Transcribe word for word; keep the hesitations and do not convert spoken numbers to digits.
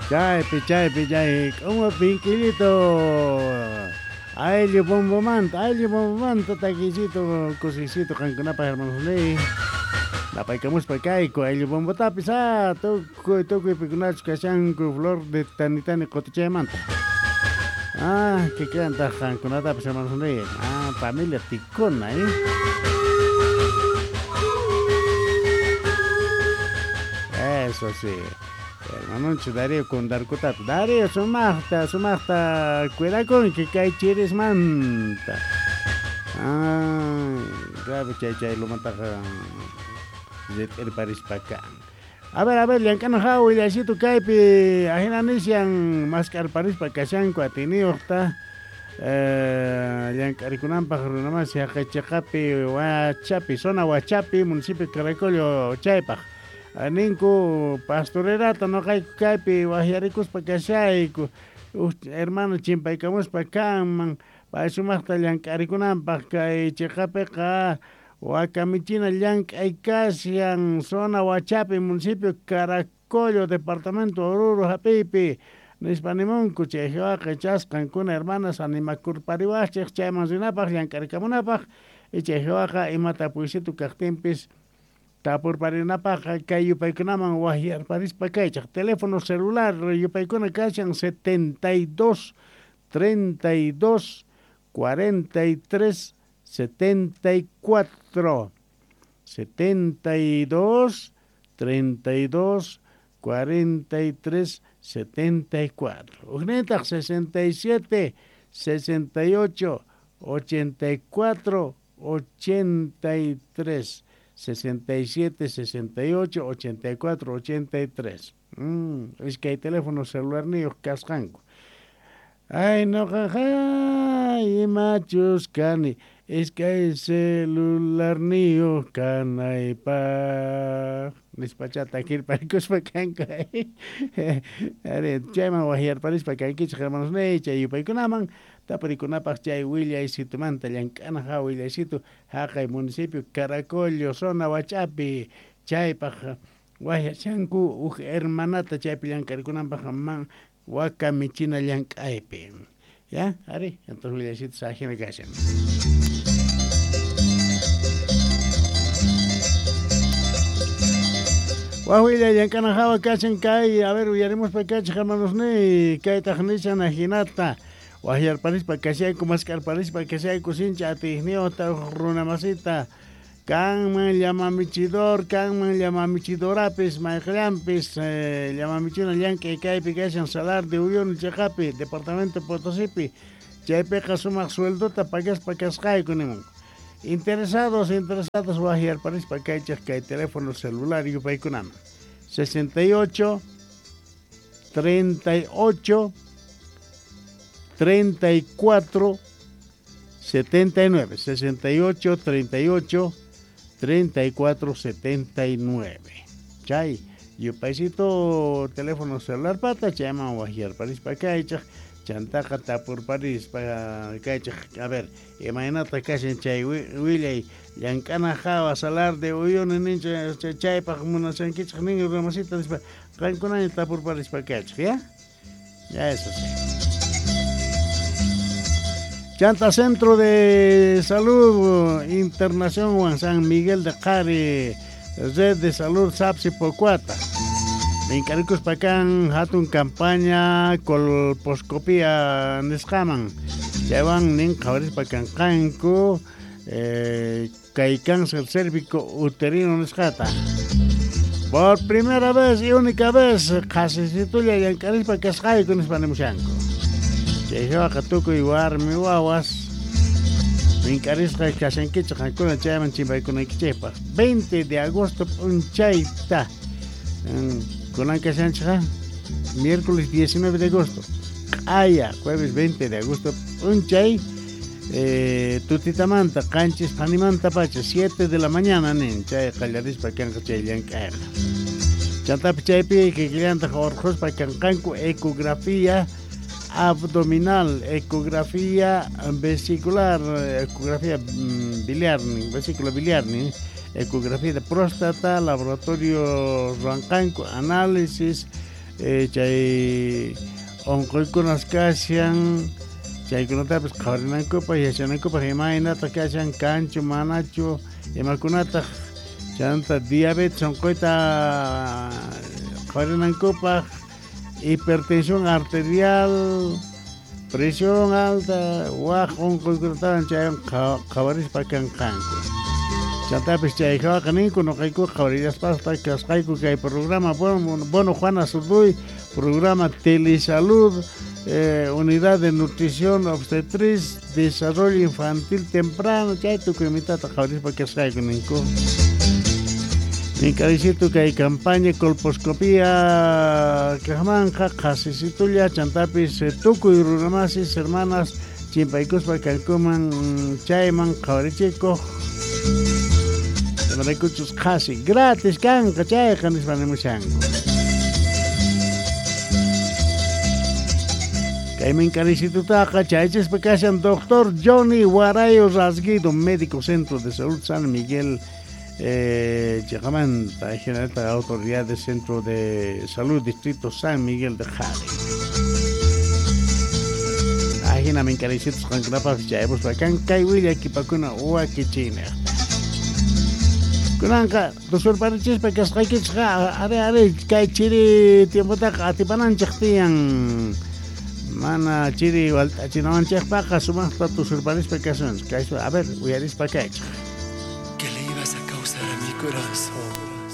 Chaypi, chaypi, chay, k'umu pinkillito. Ayllu bombomanta, ayllu bombomanta, taquicito, kusisito, qankunapaj hermanos ni. Napaykamuspa kayku, ayllu bombotapis, ah, tukuy, tukuy pikunachu kashanku, flor de tanitani qotichaymanta. Ah, que canta qankunatapis hermanos ni. Ah, familia Ticona, eh. Eso sí. Hermanoncho Darío con Darkutato. Darío, sumaqta, sumaqta, cuidakun que kay chirismanta. Ah, grave chay chay lumantaqa rit'irparispa kan. A ver, a ver, llank'ana hawa willasito kaypi ajina nishan mask'arparispa kashanku atiniyuqta eh, llank'arikunanpaq runamasi haqay Huachapi, zona Huachapi, municipio Caracollo chaypaq. Ninku pastorerata noqayku kaypi waqyarikuspa kashayku hermano chimpaykamuspa kanman pay sumaqta llank'arikunanpaq kay chiqapiqa wakamichina llank'ay kashan zona Huachapi, municipio Caracollo, departamento Oruro hap'iypi nispa nimunku chay waqa chasqankuna hermanas animakurpariwaqchik chayman rinapaq llank'arikamunapaq y chay waqa imata puysitu kaqtinpis tapurparinapaq kay yupaykunaman waqyarparispa kaychaq teléfono celular yupaykuna kashan setenta y dos, treinta y dos, cuarenta y tres, setenta y cuatro setenta y dos, treinta y dos, cuarenta y tres, setenta y cuatro Ujnitaq sesenta y siete, sesenta y ocho, ochenta y cuatro, ochenta y tres sesenta y siete, sesenta y ocho, ochenta y cuatro, ochenta y tres. Mm, es que hay teléfono celular niyuq kasqanku. Ay, noqaqa imachus kani, es que hay celular niyuq kanaypaq. Nispachata kirparikuspa kanku. Ari, chayman waqyarparispa kankichik hermanos ni, chay yupaykunaman tapurikunapaq chay willaysitumanta llank'ana hawa willaysitu haqay municipio Caracollo, zona Huachapi, chaypaq waqyashanku huk hermanata chaypi llank'arikunanpaq man waka michina llank'aypi. Ya, ari, entonces willaysitu sajina kashan. Wawilla llank'ana hawa kashan kay, a ver, uyarimuspa kachik hermanos ni, kaytaq nishan ajinata. Waqyarparispa kashayku, mask'arparispa kashayku, sincha atiyniyuqta runamasita. Kanman llamamichidor, kanman llamamichidorapis, mayqillanpis, eh, llamamichina llank'ay kaypi kashan Salar de Uyuni chiqapi, departamento Potosipi, chaypiqa sumaq sueldota pagaspa kasqayku nimun. Interesados, interesados waqyarparispa kaychik kay teléfono celular yupaykunaman. sesenta y ocho, treinta y ocho, treinta y cuatro, setenta y nueve, sesenta y ocho, treinta y ocho, treinta y cuatro, setenta y nueve. Chay, yupaysito teléfono celular pata, chayman waqyarparispa kaychik, chantaqa tapurparispa kaychik. A ver, imaynata kashan chay willay llank'ana hawa Salar de Uyuni nincha chaypaq munashankichik nin runamasita nispa qankunaña tapurparispa kaychik, ya? Ya eso sí. Chanta Centro de Salud Internación Juan San Miguel de Qari, Red de Salud Sapsi Pocuata. Minkarikus pakan hatun campaña colposcopía nisqaman. Chaywan nin qhawarispa kanqanku eh, kay cáncer cérvico uterino nisqata. Por primera vez y única vez qhasisitulla llank'arispa kasqayku nispa nimushanku. Chaywaqa tukuy warmi wawas mink'arisqa kashankichik qankuna chayman chimpaykunaykichikpaq. veinte de agosto p'unchayta kunan kashanchikqa miércoles diecinueve de agosto q'aya jueves veinte de agosto p'unchay eh, tutitamanta qanchis phanimanta pacha siete de la mañana nin chay qallarispa kanqa chay llank'ayqa. Chantapi chaypi kikillantaq urqhuspa kanqanku ecografía abdominal, ecografía vesicular, ecografía biliar, vesícula biliar, ecografía de próstata, laboratorio ruanqanku, análisis eh, chay onqoykunas kashan chaykunatapis qhawarinankupaq yachanankupaq imaynataq kashan kanchu manachu imakunataq chanta diabetes onqoyta qhawarinankupaq hipertensión arterial presión alta waj onqoykunatawan chaywan qhawarispa kanqanku chantapis chay hawaqa ninku nuqayku qhawarillaspa kasqayku kay programa bueno, bueno Juana Zurduy programa Telesalud eh, unidad de nutrición obstetriz desarrollo infantil temprano chay tukuy mitata qhawarispa kasqayku ninku Ninkaricito kay campaña colposcopía kajmanja qhasisitulla chantapis tukuy runamasis hermanas chimpaykuspa kankuman chayman qhawarichikuq imaraykuchus qhasi gratis kanqa chayqa nispa nimushanku kay minkarisitutaqa chaychispa kashan doctor Johnny Guarayo Rasguido médico centro de salud San Miguel Eh, Chacamanta, general autoridad del Centro de Salud Distrito San Miguel de Jare. Ajina minkarisitos qankunapaq chayapuspa kan kay willakipakuna wakichina. Kunanqa tusurparichispa kasqaykichikqa are are kay chiri tiempotaqa atipananchik tiyan mana chiri walt'achinawanchikpaqa sumaqta tusurparispa kasunchik. Kaysu a ver uyarispa kaychik. Corazón.